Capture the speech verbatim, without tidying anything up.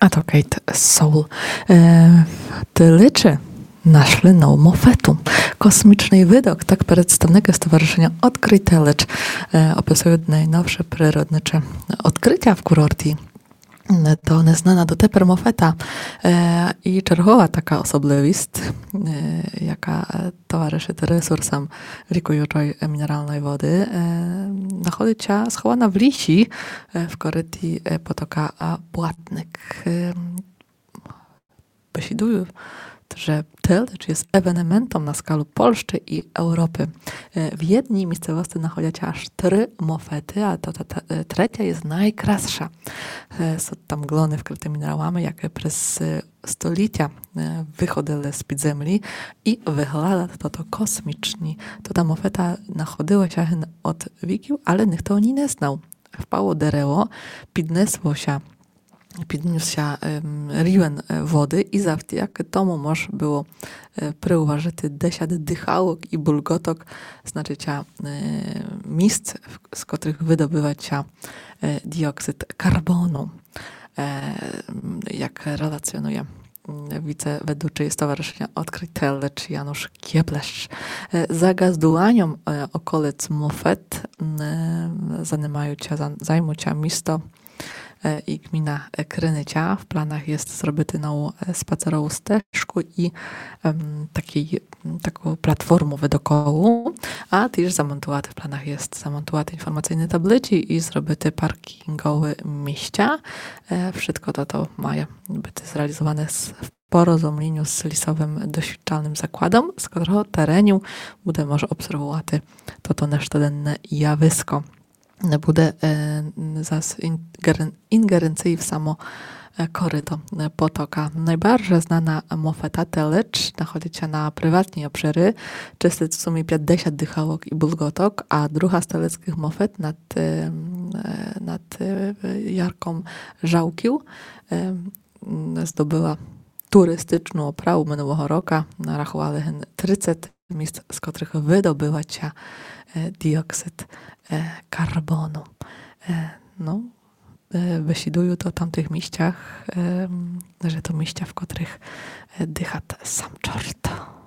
А то Кейт Соул. Е, Телечы нашли нову мофету. Космічный видок, так представникы Стоварышыня Одкрый Телеч, е, описуют найновше природничы одкрытя в курорті. Е, то незнана дотепер мофета. Е, і чергова така особливіст, е, яка, е, товарышыт ресурсам рікуючой, е, мінералной воды, е, находит ся схована в лісі, е, в корыті, е, потока, а, Блатник. Е, бесідую, же Телеч єст евенементом на скалу Польщы і Европы. Е, в єдній місцевости находят ся аж три мофеты, а то та, та, е, третя єст найкрасша. Е, сут там глоны вкрыты мінералами, якы през, е, столітя, е, выходили з-під землі і выглядат тото космічні. То та мофета находила ся ген од віків, але ніхто о ній не знав. Впало дерево, піднесло ся, піднёс ся, ем, рівень, е, воды і завдякы тому мож было, е, приуважыти десят дыхалок і булґоток, значыт ся, е, місц, в-, з котрых выдобыват ся, е, діоксид карбону, е, м, як релаціонує, м, віцеведучый Стоварышыня Одкрый Телеч Януш Кєблеш. Е, за ґаздуваньом, е, околиц мофет, м, е, занимають ся, за-, займут ся місто, е, і ґміна, е, Криниця. В планах єст зробити нову, е, спацерову стежку і, ем, такый, м, таку платформу видокову, а тіж замонтувати, в планах єст замонтувати інформаційны таблицї і зробити паркінґовы місця. Е, вшытко тото має быти зреалізоване з, в порозуміню з лісовым досвідчальным закладом, з котрого тереню буде мож обсервувати тото нештоденне явиско. Не буде, е, зас ін-, ґерен-, інґеренції в само, е, корыто, е, потока. Найбарже знана мофета Телеч находит ся на приватній обшырі, чыстит в сумі пятдесят дыхалок і булґоток, а друга з телецкых мофет над, е, м, е, над, е, ярком Жалків, е, м, здобыла туристичну оправу минулого рока. Нарахували ген трицет місц, з котрых выдобыват ся, е, діоксид, е, карбону. Е, но, е, бесідуют о тамтых місцях, е, м, же то місця, в котрых, е, дыхат сам чорт.